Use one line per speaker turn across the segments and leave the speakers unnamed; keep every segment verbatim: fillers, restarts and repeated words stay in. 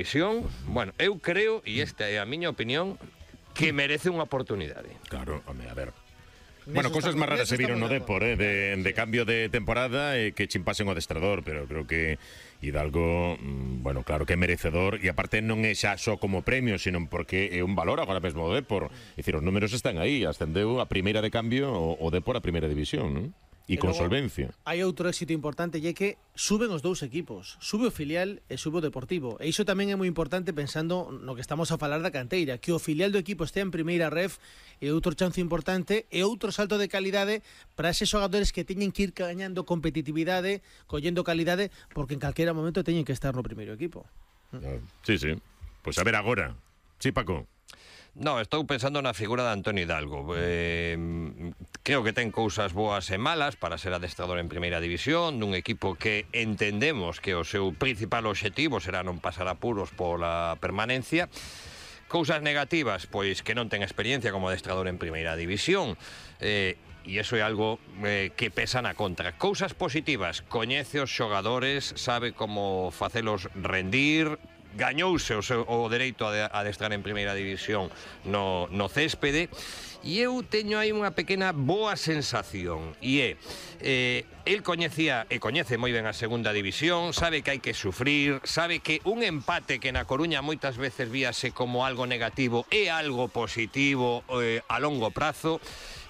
División, bueno, eu creo, e esta é a miña opinión, que merece unha oportunidade.
Claro, home, a ver. Bueno, cosas máis raras se viron no Depor, eh, de, de cambio de temporada e eh, que chimpasen o adestrador, pero creo que Hidalgo, mm, bueno, claro que é merecedor, e aparte non é xa só como premio, sino porque é un valor agora mesmo o Depor. É dicir, os números están aí, ascendeu a primeira de cambio o, o Depor a primeira división, non? E con solvencia.
Hai outro éxito importante, e é que suben os dous equipos, sube o filial e sube o Deportivo, e iso tamén é moi importante pensando no que estamos a falar da canteira, que o filial do equipo estea en primeira ref é outro chance importante e outro salto de calidade para eses xogadores que teñen que ir gañando competitividade, collendo calidade, porque en calquera momento teñen que estar no primeiro equipo.
Sí, sí. Pois pues a ver agora. Sí, Paco.
No, estou pensando na figura de Antonio Hidalgo. Eh, creo que ten cousas boas e malas para ser adestrador en primeira división dun equipo que entendemos que o seu principal obxectivo será non pasar apuros pola permanencia. Cousas negativas, pois que non ten experiencia como adestrador en primeira división. Eh, e iso é algo eh, que pesa na contra. Cousas positivas, coñece os xogadores, sabe como facelos rendir, gañouse o, seu, o dereito a adestrar en primeira división no, no céspede, e eu teño aí unha pequena boa sensación, e é eh, el coñecía e coñece moi ben a segunda división, sabe que hai que sufrir, sabe que un empate que na Coruña moitas veces víase como algo negativo é algo positivo eh, a longo prazo.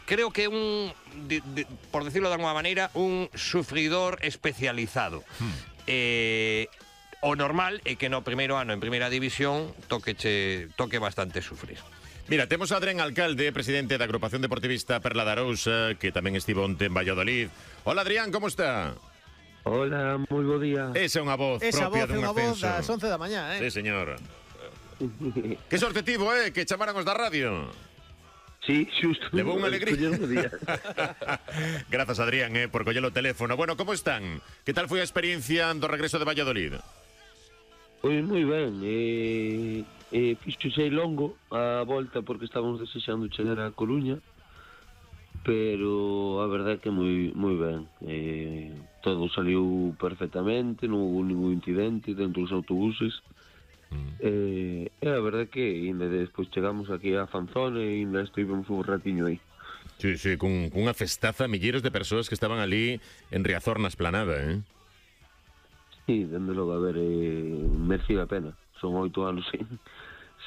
Creo que un, de, de, por decirlo de alguma maneira, un sufridor especializado. Hmm. Eh, o normal é que no primeiro ano en primeira división toque, che, toque bastante sufrir.
Mira, temos a Adrián Alcalde, presidente da agrupación deportivista Perla da Arousa, que tamén estivo onte en Valladolid. Hola, Adrián, como está?
Hola, moi bo día.
Esa é unha voz
Esa
propia
voz,
dun
unha
ascenso.
voz das once da mañá, eh?
Sí, señor. Que sorte tivo, eh, que chamaran os da radio.
Sí, xusto.
Levou unha alegría. Grazas, Adrián, eh, por coller o teléfono. Bueno, como están? Que tal foi a experiencia do regreso de Valladolid?
Pois moi ben, eh, eh, fixose longo a volta porque estábamos desexando chegar a Coruña, pero a verdade é que moi moi ben. Eh, todo saliu perfectamente, non houve ningún incidente dentro dos autobuses. Mm. Eh, e a verdade é que ainda despois chegamos aquí a Fanzón e ainda estivemos un ratiño aí.
Sí, sí, con, con unha festaza, milleiros de persoas que estaban ali en Riazor na esplanada, eh?
Sí, dende logo, a ver, eh, merece a pena. Son oito anos sen,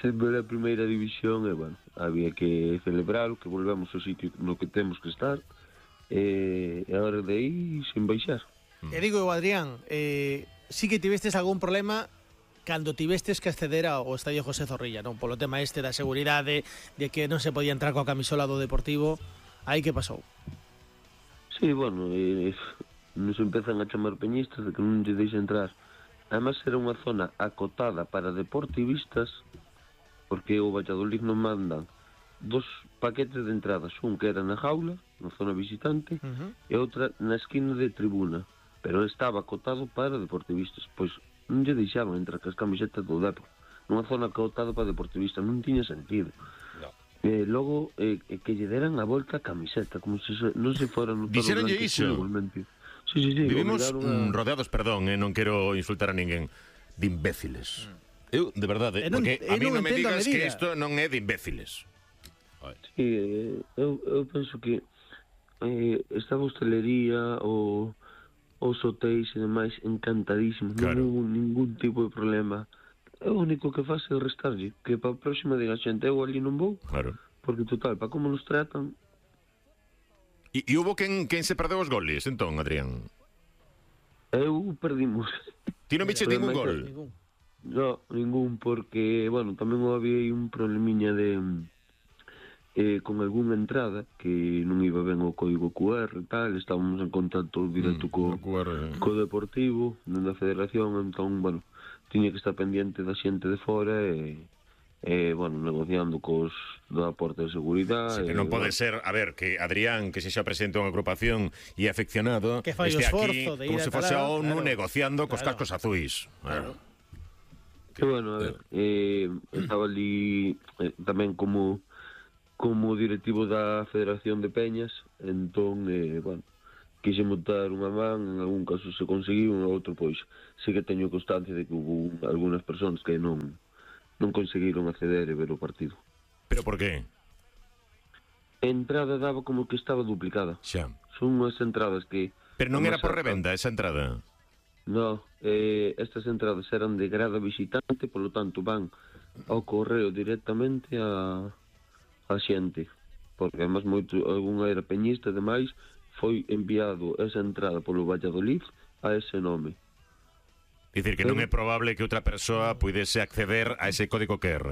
sen ver a primeira división e, bueno, había que celebralo, que volvemos ao sitio no que temos que estar e, e agora de aí sin baixar.
E digo eu, Adrián, eh, sí que tivestes algún problema cando tivestes que acceder ao Estadio José Zorrilla, non? Polo tema este da seguridade, de que non se podía entrar coa camisola do Deportivo, aí que pasou?
Sí, bueno, eh, nos empezan a chamar peñistas de que non lle deixa entrar. Además era unha zona acotada para deportivistas, porque o Valladolid non mandan dos paquetes de entradas, un que era na jaula, na zona visitante, uh-huh. e outra na esquina de tribuna, pero estaba acotado para deportivistas, pois non lle deixaban entrar cas camisetas do Depor, nunha zona acotada para deportivistas, non tiña sentido. No. E logo eh, que lle deran a volta a camiseta, como se non se fora no todo
blanco iso.
Igualmente. Sí, sí, sí,
vivimos una... rodeados, perdón, eh, non quero insultar a ninguén, de imbéciles. Mm. Eu, de verdade, eh, porque a mí non me digas que isto non é de imbéciles.
Sí, eh, eu, eu penso que eh, esta hostelería ou os hotéis e demais encantadísimos, claro. Non hubo ningún tipo de problema. O único que faz é restarlle, que para a próxima diga a xente, eu ali non vou, claro. Porque total, para como nos tratan.
E, e hubo quen, quen se perdeu os goles, entón, Adrián?
Eu perdimos.
Ti non viche ningún gol?
No, ningún, porque, bueno, tamén había aí un problemiña de eh, con algunha entrada que non iba ben o código cu erre e tal, estábamos en contacto directo mm, co, cu erre, eh. co Deportivo, da Federación, entón, bueno, tiña que estar pendiente da xente de fora e eh, bueno, negociando cos da porta de seguridade.
Sí, que non pode bueno. ser, a ver, que Adrián, que se xa presenta unha agrupación e afeccionado,
que fai
este aquí
de
como se fose a ONU
claro.
negociando cos
claro.
cascos azuis.
Claro. Que, que bueno, a ver, eh, estaba ali eh, tamén como como directivo da Federación de Peñas, entón, eh, bueno, quise montar unha man, en algún caso se conseguiu, en outro pois sí que teño constancia de que hubo algunhas persoas que non non conseguiron acceder e ver o partido.
Pero por qué?
A entrada daba como que estaba duplicada.
Xa.
Son unhas entradas que...
Pero non era por revenda esa entrada?
No, eh, estas entradas eran de grada visitante, polo tanto van ao correo directamente a, a xente. Porque además moito, algunha era peñista e demais, foi enviado esa entrada polo Valladolid a ese nome.
Dicir que non é probable que outra persoa puidese acceder a ese código Q R.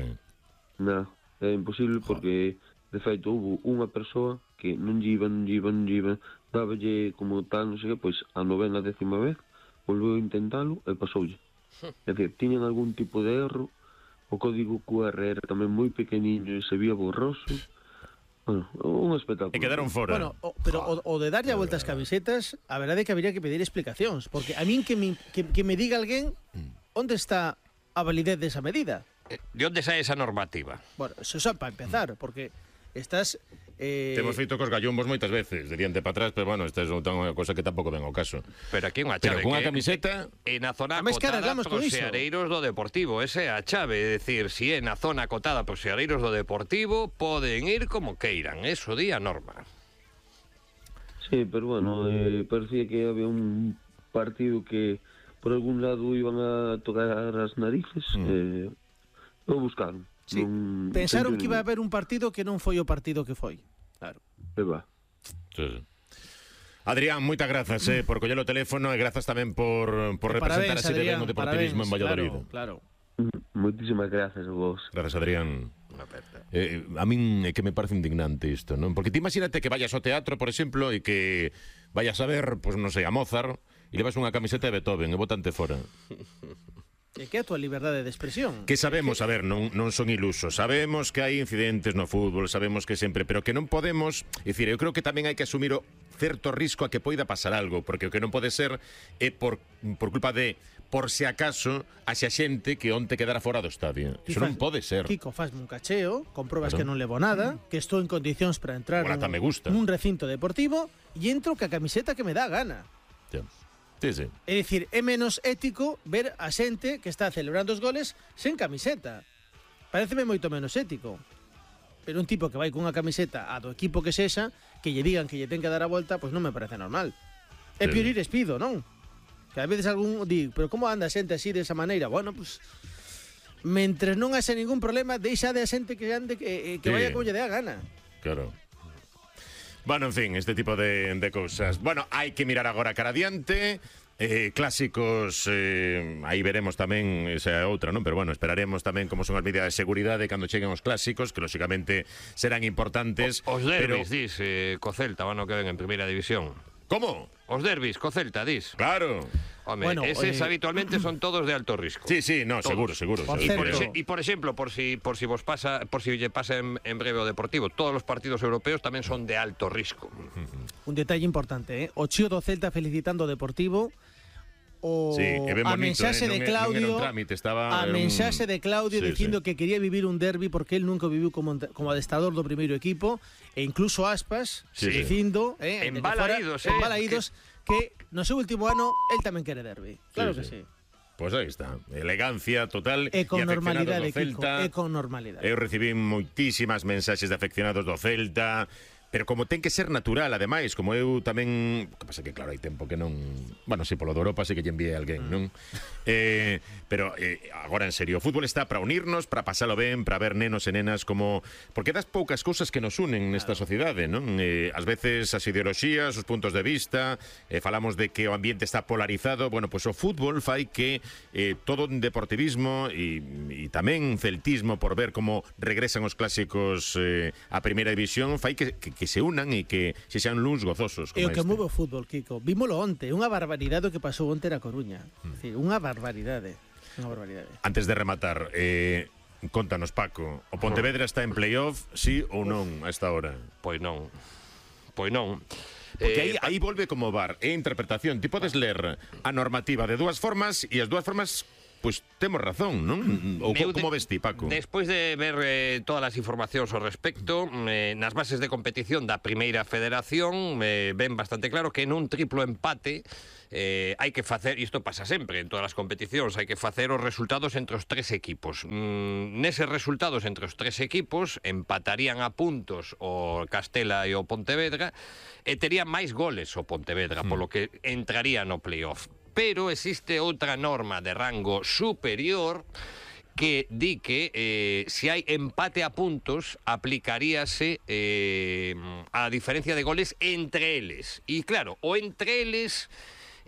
Non, é imposible porque, de feito, houve unha persoa que non lle iba, non lle iba, non lle iba, dáballe como tal, non sei que, pois a novena décima vez, volveu a intentalo e pasoulle. É dicir, tiñan algún tipo de erro, o código Q R era tamén moi pequeniño e se vía borroso. Bueno, un espectáculo.
E quedaron fora.
Bueno, o, pero o, o de darlle a vuelta as camisetas, a verdade é que habría que pedir explicacións, porque a min que me, que, que me diga alguén onde está a validez desa medida.
De onde sai esa normativa?
Bueno, eso xa para empezar, porque estás... Eh...
Temos feito cos gallombos moitas veces, de diante para atrás, pero bueno, esta é unha cosa que tampouco ven ao caso.
Pero aquí unha
Pero
chave
cunha
que
camiseta...
E na zona
Ademais, que
acotada
arreglamos con
pros
iso.
seareiros do Deportivo. Esa é a chave, é dicir, si é na zona acotada pros seareiros do Deportivo, poden ir como queiran, eso di a norma.
Sí, pero bueno, eh, parecía que había un partido que por algún lado iban a tocar as narices, mm. eh, o buscaron.
Sí,
non,
pensaron que iba a
haber...
haber un partido que non foi o partido que foi. Claro.
E va.
Sí, sí. Adrián, moitas grazas eh, por coller o teléfono e grazas tamén por, por representar
Parabéns,
así de ben
Adrián,
o deportivismo
parabéns,
en Valladolid.
Claro, claro.
Moitísimas grazas a vos.
Grazas, Adrián. Eh, a min é que me parece indignante isto, non? Porque ti imagínate que vayas ao teatro, por exemplo, e que vayas a ver, pois pues, non sei, a Mozart e levas unha camiseta de Beethoven e botante fora.
E que é a tua liberdade de expresión?
Que sabemos, a ver, non, non son ilusos. Sabemos que hai incidentes no fútbol, sabemos que sempre, pero que non podemos, é dicir, eu creo que tamén hai que asumir o certo risco a que poida pasar algo, porque o que non pode ser é por, por culpa de, por se acaso, haxa xente que onte quedara fora do estadio. Iso non pode ser.
Kiko, fasme un cacheo, compruebas
Claro.
que non levo nada, que estou en condicións para entrar
Bueno, ata me gusta.
nun recinto deportivo e entro ca camiseta que me dá a gana.
Ya. Sí, sí.
É dicir, é menos ético ver a xente que está celebrando os goles sen camiseta. Pareceme moito menos ético. Pero un tipo que vai cunha camiseta a do equipo que sexa, que lle digan que lle ten que dar a volta, pois non me parece normal. É
Sí.
pior ir espido, non? Que a veces algún di, pero como anda a xente así desa maneira? Bueno, pois mentres non haxe ningún problema, deixa de a xente que ande que, que
Sí.
vaya como lle dé a gana.
Claro. Bueno, en fin, este tipo de, de cousas. Bueno, hai que mirar agora cara adiante. Eh, clásicos, eh, aí veremos tamén esa outra, non? Pero bueno, esperaremos tamén como son as medidas de seguridade cando cheguen os clásicos, que lógicamente serán importantes.
O, os derbis,
pero...
dis, eh, co Celta, van o que ven en primeira división.
¿Cómo?
Os derbis, co Celta, dis.
Claro.
Home,
Bueno,
eses
eh,
habitualmente son todos de alto risco.
Sí, sí, no, seguro,
Todos.
seguro.
Por
seguro.
Y por,
Cierto.
exe- y por exemplo, por si por si vos pasa, por si lle pasa en, en breve o Deportivo, todos os partidos europeos tamén son de alto risco.
Un detalle importante, eh? O chío do Celta felicitando o Deportivo. O
Sí, é ben
a
bonito,
mensaxe
eh, non
de
é- non era
Claudio,
un trámite, estaba,
a
era un-
mensaxe de Claudio
Sí,
dicindo
sí.
que quería vivir un derbi porque él nunca viviu como como adestrador do primeiro equipo e incluso Aspas
Sí, sí.
dicindo, eh, desde
Embalaídos,
fora,
eh,
embalaídos que... que no seu último ano el tamén quere derbi. Claro
Sí,
que
sí.
sí.
Pois aí está, elegancia total
E con
e afeccionados
normalidade,
do Celta.
Kiko, e con normalidade.
Eu recibí moitísimas mensaxes de afeccionados do Celta, pero como ten que ser natural, ademais, como eu tamén, que pasa que claro, hai tempo que non, bueno, si polo de Europa sí que lle envié alguén, non? Eh, pero eh, agora en serio, o fútbol está para unirnos, para pasalo ben, para ver nenos e nenas como, porque das poucas cousas que nos unen nesta sociedade, non? Eh, ás veces as ideoloxías, os puntos de vista, eh, falamos de que o ambiente está polarizado, bueno, pois pues o fútbol fai que eh, todo un deportivismo e, e tamén celtismo por ver como regresan os clásicos eh, a primeira división, fai que, que que se unan e que se xan luns gozosos
E o
como
que
este.
move o fútbol, Kiko. Vímolo onte, unha barbaridade o que pasou onte na Coruña. Mm. Decir, unha barbaridade. Unha barbaridade.
Antes de rematar, eh, contanos, Paco, o Pontevedra está en playoff, sí ou non a esta hora?
Pois non. Pois non.
Porque aí,
Eh,
aí volve como V A R, é interpretación. Ti podes ler a normativa de dúas formas e as dúas formas, pois, temos razón, non? Ou co, como ves ti, Paco?
Despois de ver eh, todas as informacións ao respecto, eh, nas bases de competición da Primeira Federación eh, ven bastante claro que nun triplo empate eh, hai que facer, isto pasa sempre en todas as competicións, hai que facer os resultados entre os tres equipos. Mm, neses resultados entre os tres equipos empatarían a puntos o Castela e o Pontevedra e terían máis goles o Pontevedra, mm. polo que entraría no playoff. Pero existe outra norma de rango superior que di que eh, se hai empate a puntos aplicaríase eh, a diferencia de goles entre eles. E claro, o entre eles,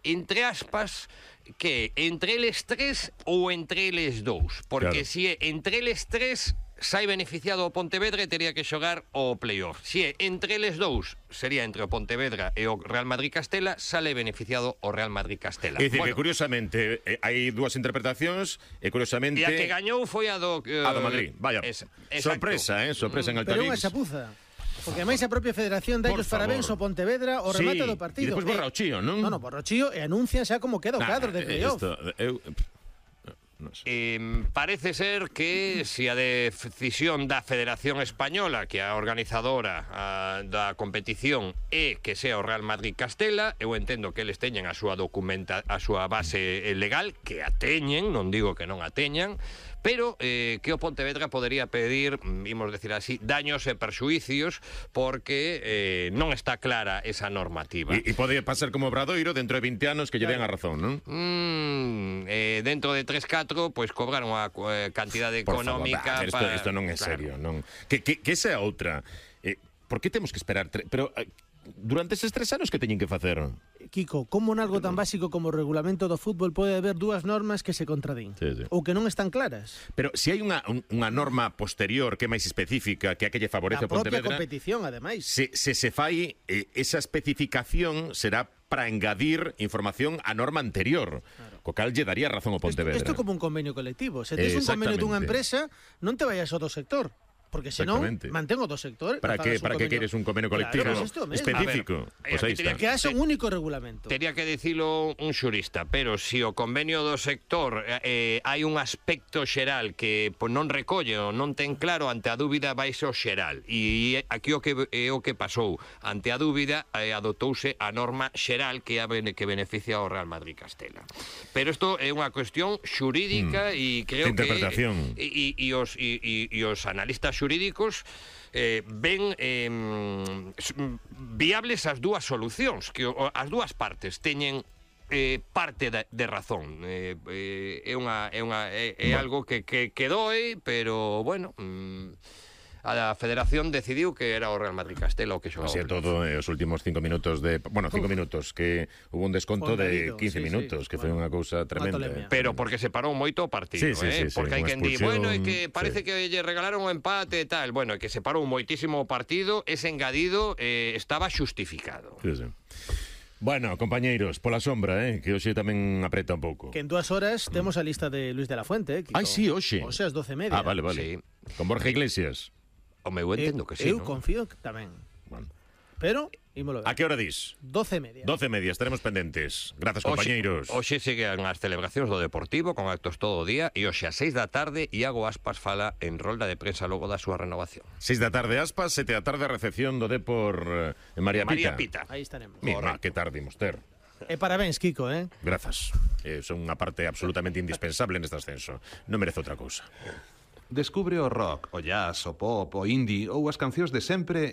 entre aspas, que entre eles tres ou entre eles dous, porque claro, se é entre eles tres sai beneficiado o Pontevedra e teria que xogar o playoff. Se é entre eles dous, sería entre o Pontevedra e o Real Madrid-Castela, sale beneficiado o Real Madrid-Castela.
É dicir,
bueno,
que curiosamente eh, hai dúas interpretacións e curiosamente
e a que gañou foi a do uh,
a do Madrid. Vaya, esa, sorpresa, eh, sorpresa en Altavix.
Pero unha chapuza. Porque ademais a propia Federación dai os parabéns ao Pontevedra o remate
sí,
do partido.
E depois borra o chío, non?
Non, non, borra o chío e anuncian xa como queda o cadro de playoff.
Esto, eu...
No sé. Eh, parece ser que se a decisión da Federación Española, que é a organizadora a, da competición, é que sea o Real Madrid-Castela, eu entendo que eles teñen a súa documenta, a súa base legal, que a teñen, non digo que non a teñan, pero eh, que o Pontevedra podería pedir, imos decir así, daños e perxuicios, porque eh, non está clara esa normativa.
E, e pode pasar como Obradoiro dentro de vinte anos que lle den a razón, non?
Mm, eh, dentro de tres catro, pois cobraron a eh, cantidade
Por
económica.
Favor, isto,
para...
isto non é serio, claro. Non. Que, que, que esa é outra. Eh, por que temos que esperar? Tre... Pero eh, durante eses tres anos que teñen que facer?
Kiko, como nalgo tan básico como o regulamento do fútbol pode haber dúas normas que se contradín?
Sí, sí.
Ou que non están claras?
Pero se hai unha, un, unha norma posterior que é máis específica, que a que lle favorece a Pontevedra...
A propia competición, ademais.
Se, se se fai, eh, esa especificación será para engadir información á norma anterior, claro, co cal lle daría razón ao Pontevedra.
Isto é como un convenio colectivo. Se tes un convenio dunha empresa, non te vayas ao do sector. Porque senón, mantén o do sector.
Para que para que queres un convenio colectivo
claro, pues
específico?
Ver,
pues aí está.
Que haxa un único regulamento.
Tería que dicilo un xurista, pero se si o convenio do sector eh, hai un aspecto xeral que pues, non recolle ou non ten claro, ante a dúbida vaise o xeral. E aquí o que é o que pasou. Ante a dúbida eh, adotouse a norma xeral que a que beneficia ao Real Madrid-Castela. Pero isto é unha cuestión xurídica e mm. creo que e, e, e os e, e, e os analistas xurídicos eh, ven eh, viables as dúas solucións, que as dúas partes teñen eh, parte de, de razón. Eh, eh, é unha é unha é, é algo que, que, que doe, pero bueno, mm, a Federación decidiu que era o Real Madrid-Castela o que xogaba.
Así é todo, eh, os últimos cinco minutos de... Bueno, cinco Uf. minutos, que hubo un desconto de quince sí, minutos, sí. que foi unha cousa tremenda.
Pero porque se parou moito o partido,
sí, sí,
eh?
Sí,
porque
sí,
hai quen di, bueno, é que parece
sí.
que lle regalaron o empate e tal. Bueno, é que se parou moitísimo o partido, ese engadido eh, estaba xustificado.
Sí, sí. Bueno, compañeiros, pola sombra, eh, que hoxe tamén apreta un pouco.
Que en dúas horas temos a lista de Luis de la Fuente, eh,
Ai, sí, hoxe.
Hoxe ás doce e media.
Ah, vale, vale. Sí. Con Borja Iglesias.
O meu entendo que sí,
eu
¿no?
confío que tamén. Bueno. Pero, ímolo ver.
A que hora dis?
doce e media.
doce e media, estaremos pendentes. Grazas, compañeiros.
Hoxe seguen as celebracións do Deportivo con actos todo o día e hoxe a seis da tarde Iago Aspas fala en rolda de prensa logo da súa renovación.
seis da tarde Aspas, sete da tarde a recepción do Depor en María Pita.
María Pita.
Aí estaremos.
Mira, que tarde imos ter.
E parabéns, Kiko, eh?
Grazas. Eh, son unha parte absolutamente indispensable neste ascenso. Non merece outra cousa.
Descubre o rock, o jazz, o pop, o indie ou as cancións de sempre